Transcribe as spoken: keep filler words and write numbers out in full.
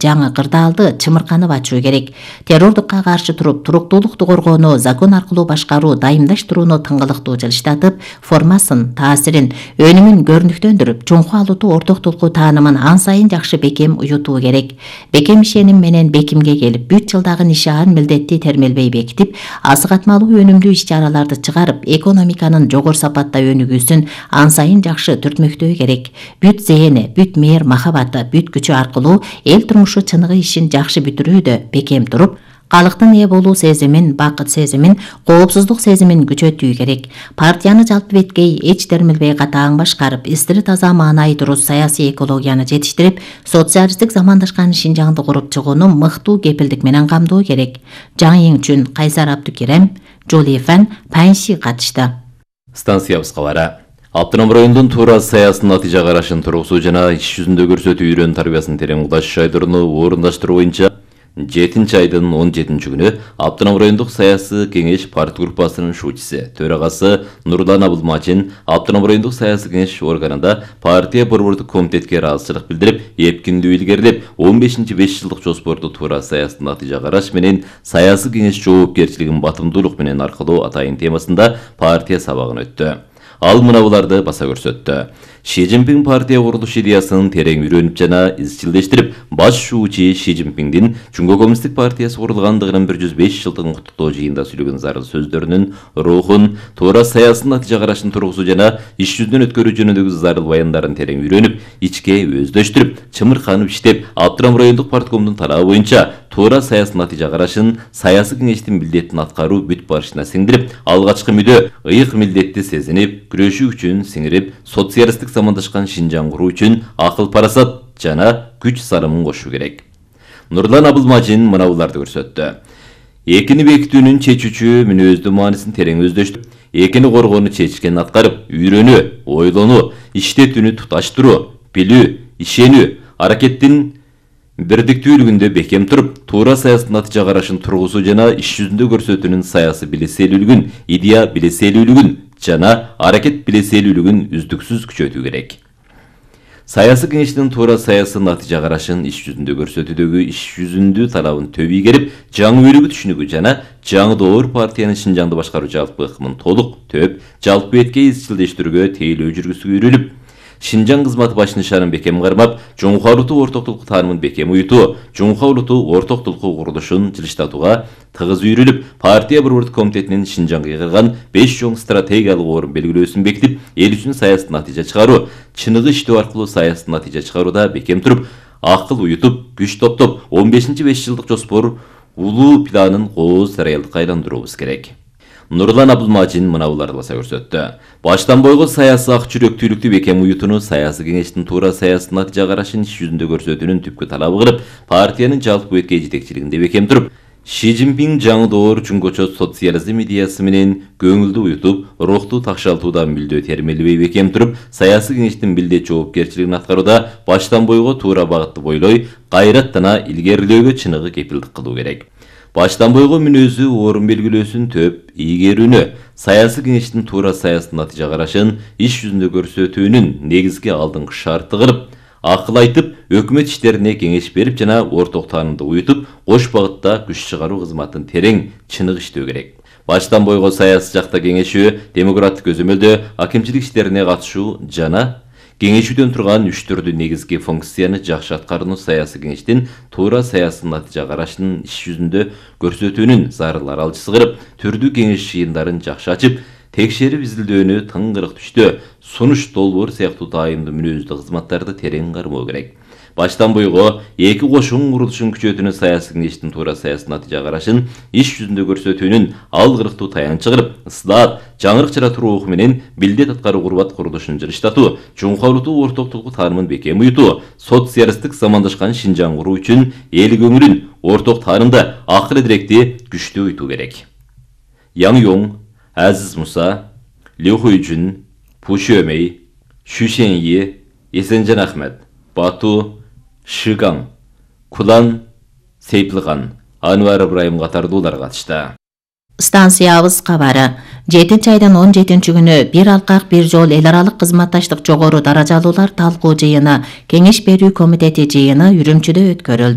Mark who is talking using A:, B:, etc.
A: жаңы кырдаалды чымырканып ачуу керек. Террордукка каршы туруп, туруктуулукту коргоону, закон аркылуу башкаруу, дайымдаштырууну тыңгылыктуу жылыштатып, формасын, таасирин, өнүмүн көрүнүктөндүрүп, чоңку алууту ортоктулуку таанымын ан сайын жакшы бекем уютуу керек. Бекем ишеним менен бекимге келип, бүт жылдагы нишаан милдетти термелбей бекитип, асыгатмалуу өнүмдүү иш-чараларды чыгарып, экономиканын жогору сапатта өнүгүүсүн ан сайын жакшы түртмөктөө керек. Бүт зээни, бүт мээр махабаты, бүт күчү аркылуу эл турмушу чыныгы ишин жакшы бүтүрүүдө бекем туруп, калктын ээ болуу сезимин, бакыт сезимин, коопсуздук сезимин күчөтүү керек. Партияны жалпы беткей, эч термелбей катаң башкарып, истири таза маанайы туруп саясий экологияны жетиштирип, социалисттик замандашкан Шинжаңды куруп чыгууну мыктуу кепилдик менен камдоо керек. Жаңы үчүн Кайсар Абдукерем, Жолифан, Панши катышты.
B: Станциябыз кабары. Автоном райондун туура саясатын натыйжа карашын тургузуу жана иш жүзүндө көрсөтүү үйрөн тарбиясын терең угдаш жайдырууну орундаштыруу боюнча жетинчи айдын он жетинчи күнү Автоном райондук саясий кеңеш партия группасынын шуучусу, төрагасы Нурлан Абылмачин Автоном райондук саясий кеңеш органында партия борбордук комитетке ыраазычылык билдирип, эпкиндүү илгерилеп, он бешинчи беш жылдык жоспорду туура саясатын натыйжа караш менен саясий кеңеш жоопкерчилигин батымдуулук менен аркылоо атайын темасында партия сабагын өттү. Ал мынабуларды баса көрсөттү. Ши Цзиньпин партия курулуш идеясын терең үйрөнүп жана изчилдештирип, баш шуучу Ши Цзиньпиндин Жумго коммунисттик партиясы курулгандыгынын бир жүз беш жылдыгын куттуктоо жыйында сүйлөгөн зарыл сөздөрүнүн рухун, туура саясатын натыйжа карашын тургузуу жана иш жүзүнөн өткөрүү жөнүндөгү зарыл баяндарын терең үйрөнүп, ичке өздөштүрүп, чымырканып иштеп, Автоном райондук парткомдун талабы боюнча туура саясий натыйжа карашын, саясий кеңештин милдетин аткаруу бүт барышына сиңдирип, алгачкы мүдө ыйык милдетти сезинип, күрөшүү үчүн сиңирип, социалисттик замандашкан Шинжаң куруу үчүн акыл парасат жана күч сарымын кошуу керек. Нурлан Абылмачин мынабуларды көрсөттү. Экини бекитүүнүн чечүүчү мүнөздүү маанисин терең өздөштүрүп, экини коргоону чечкени аткарып, үйрөнүү, ойлонуу, иштетүүнү туташтыруу, билүү, ишенүү, аракеттин бирдиктүүлүгүндө бекем туруп, туура саясий натыйжа карашын тургузуу жана иш жүзүндө көрсөтүүнүн саясий билеселүүлүгүн, идея билеселүүлүгүн жана аракет билеселүүлүгүн үздүксүз күчөтүү керек. Саясий кеңештин туура саясий натыйжа карашын иш жүзүндө көрсөтүүдөгү иш жүзүндүү талабын төб ийгерип, жаңы өрүгү түшүнүгү жана жаңы доор партиянын Шинжаңды башкаруу жалпы ыкмын толук, төп, жалпы бетке изчилдештирүүгө тейлөө жүргүзүүгө үйрүлүп, Шинжаң кызматы баш нишанын бекем кармап, жуңку алууту ортоктулук таанымын бекем уютуу, жуңку алууту ортоктулуку курулушун жылыштатууга тыгыз үйрүлүп, партия борбордук комитетинин Шинжаңга кырган беш чоң стратегиялык орун белгилөөсүн бекитип, эл үчүн саясий натыйжа чыгаруу, чыныгы иштөө аркылуу саясий натыйжа чыгарууда бекем туруп, акыл уютуп, күч топтоп, он бешинчи беш жылдык жоспор улуу планын кооз реалдыкка айландыруубуз керек. Нурлан Абылмачин мынабуларды баса көрсөттү. Баштан бойго саясий ак жүрөктүүлүктү бекем уютууну саясий кеңештин туура саясий натыйжа карашын иш жүзүндө көрсөтүүнүн түпкү талабы кылып, партиянын жалпы бетке жетекчилигинде бекем туруп, Ши Цзиньпин жаңы доор жуңгочо социализм идеясы менен көңүлдү уютуп, рухту такшалтууда мүлдө термелбей бекем туруп, саясий кеңештин милдет жоопкерчилигин аткарууда баштан бойго туура багытты бойлой, кайраттана илгерилөөгө чыныгы кепилдик кылуу керек. Баштан бойго мүнөзү орун белгилөөсүн төп ийгерүүнү, саясий кеңештин туура саясий натыйжа карашын иш жүзүндө көрсөтүүнүн негизги алдыңкы шарты кылып, акыл айтып, өкмөт иштерине кеңеш берип жана орток таанымды уютуп, кош багытта күч чыгаруу кызматын терең, чыныгы иштөө керек. Баштан бойго саясий жакта кеңешүү, демократик көзөмөлдө акимчилик иштерине катышуу жана кеңешүүдөн турган үч түрдүү негизги функцияны жакшы аткарууну саясий кеңештин туура саясий натыйжа карашын иш жүзүндө көрсөтүүнүн зарыл аралчысы кылып, түрдүү кеңеш жыйындарын жакшы ачып, текшерип изилдөөнү тыңгырык түштө, сунуш долбоор сыяктуу дайымдуу мүнөздүү кызматтарды терең кармоо керек. Баштан бойго эки кошун курулушун күчөтүүнү саясий кеңештин туура саясий натыйжа карашын иш жүзүндө көрсөтүүнүн алгырыктуу таянчы кылып, ысылаат, жаңырык жаратуу руху менен милдет аткаруу курбат курулушун жылыштатуу, жуңку алууту ортоктулуку таанымын бекем уютуу, социалисттик замандашкан Шинжаң куруу үчүн эл көңүлүн орток таанымда акыл эдиректи күчтүү уютуу керек. Яң Йоң, Азиз Муса, Лю Хуйжун, Пу Шөмей, Шу Шеньи, Эсенжан Ахмет, Бату, Шыгаң, Кулан, Сейпилган, Анвар Ибраим катардуулар катышты.
A: Станциябыз кабары. жетинчи айдын он жетинчи күнү бир алкак бир жол эл аралык кызматташтык жогору даражалуулар талкуу жыйыны Кеңеш берүү комитети жыйыны Үрүмчүдө өткөрүлдү.